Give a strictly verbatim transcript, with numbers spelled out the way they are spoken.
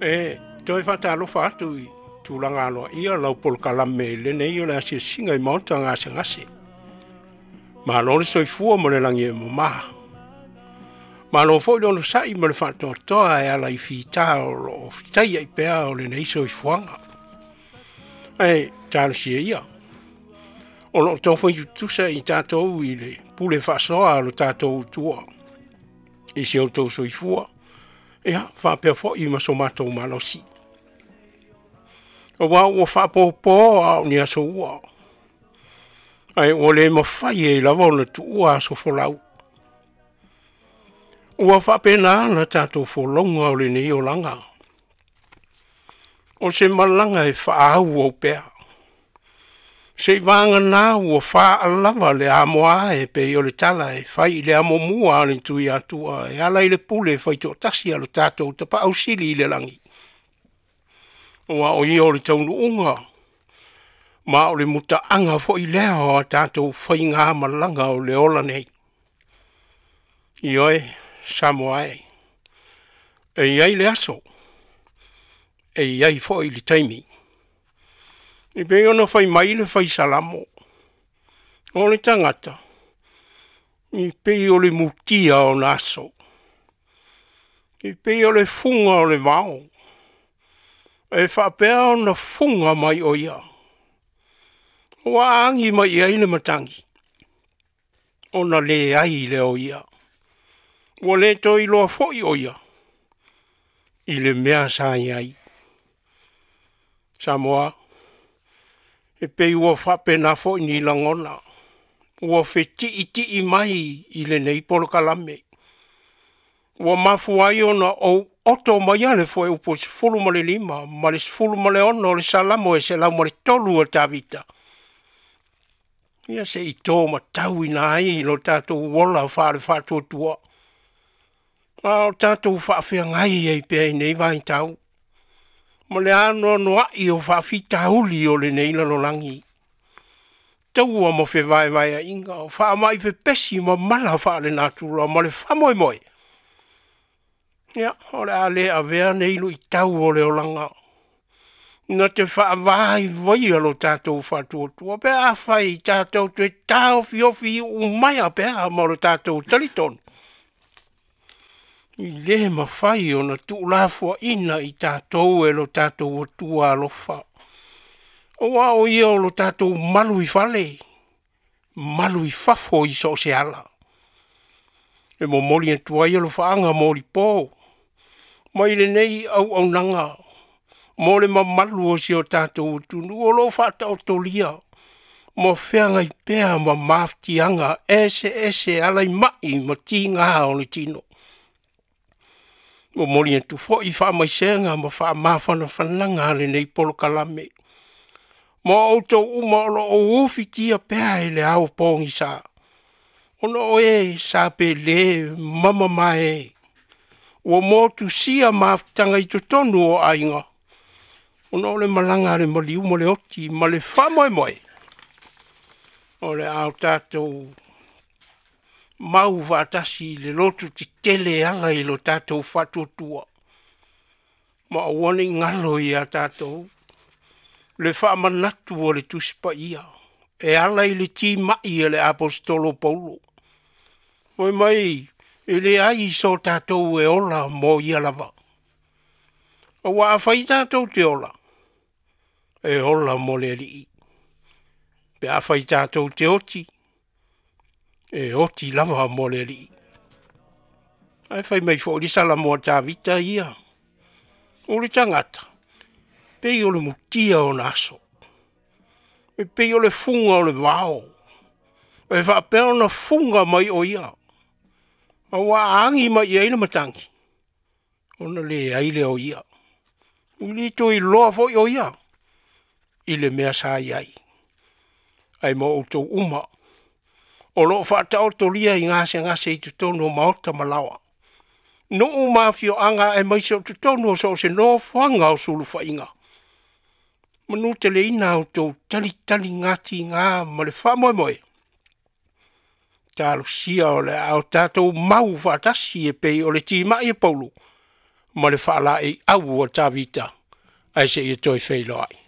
E toe faatalofa atu i tulaga aloaia lau polokalame i lenei o le asiasiga i maota gasegase. Malo le soifua ma le lagi e mamā. Malo foi le onosai ma le faatoatoa e ala i fita o loo fitaiai pea o lenei soifuaga. Ae talosia ia o loo taumafai tutusa i tatou i le pule faasoa a lo tatou Atua i si outou soifua, ia faapea foi ma so matou malosi. Aua ua faapopo a o ni aso ua, ae ua le mafai ai lava ona tuua aso folau. Ua faapena la tatou folauga o lenei olaga. O se malaga e faaauau pea. Seiavagana ua faalava le amoa e pei o le tala e fai i le amomua a le Tuiatua e ala i le pule faitoatasi a lo tatou Tapaau Sili i le lagi. Aua o ia o le taunuuga ma o le mutaaga foi lea o a tatou faigamalaga o le ola nei. Ioe, Samoa e, e i ai le aso, e i ai foi le taimi. E pei ona fai mai le fai Salamo, o le tagata, e pei o le mutia o na aso, e pei o le fuga o le vao, e faapea ona fuga mai o ia. Ua agi mai i ai le matagi, ona leai lea o ia. Ua le toe iloa foi o ia, i le mea sa i ai. Samoa, e pei ua faapena foi ni lagona, ua fetiitii mai i lenei polokalame. Ua mafua ai ona ou oto mai a le fuaiupu sefulu ma le lima ma le sefulu ma le ono o le Salamo e selau ma le tolu a Tavita. Ia se i tō matauina ai lo tatou ola faale faatuatua. A o tatou faafeagai ai pea i nei vaitau. Ma le anoanoai o faafitauli o lenei lalolagi. Taua ma fevaevaeaiga, o faamai pepesi ma mala faalenatura ma le faamoemoe. Ia, o le a le avea nei luitau o le olaga. Na te faavaivaia lo tatou faatuatua pe afai tatou toe taofiofi umaia pea ma lo tatou talitonu. I le mafai ona tuulafoaina i tatou e lo tatou Atua alofa. Aua o ia o lo tatou malu i fale, malu i fafo i so o se ala. E momoli atu ai alofaaga molipo mai lenei auaunaga mo le mamalu o si o tatou atunuu o loo faataotolia ma feagai pea ma mafatiaga eseese ala i mai ma tiga o le tino. Momoli atu foi faamaisega ma faamafanafanaga a lenei polokalame ma outou uma o loo ufitia pea i le ao pogisa, ona o e sa pele ma mamae ua motusia mafutaga i totonu o aiga, ona o le malaga a le maliu ma le oti ma le faamoemoe o le a o tatou mau faatasi i le loto tetele e ala i lo tatou faatuatua, ma aua ne i galo ia tatou le faamanatu o le Tusi Paia e ala i le timai a le Aposetolo Paulo. Fai mai e leai so tatou e ola mo ia lava. Aua afai tatou te ola, e ola mo le Alii. Pe afai tatou te oti, e oti lava mo le Alii. Ae fai mai foi le Salamo a Tavita ia, o le tagata, pei o le mutia o na aso, e pei o le fuga o le vao, e faapea ona fuga mai o ia, aua agi mai i ai le matagi, ona leai lea o ia. Ua le toe iloa foi o ia i le mea sa i ai. Ae mo outou uma, o loo faataotolia i gasegase i totonu o maota ma laoa, nuu ma afioaga aemaise o totonu o so o se nofoaga o sulufaiga. Manuteleina outou talitaligatigā ma le faamoemoe. Talosia o le a o tatou mau faatasi e pei o le timai e Paulo Ma le faalaeiau a Tavita ae seia toe feiloai.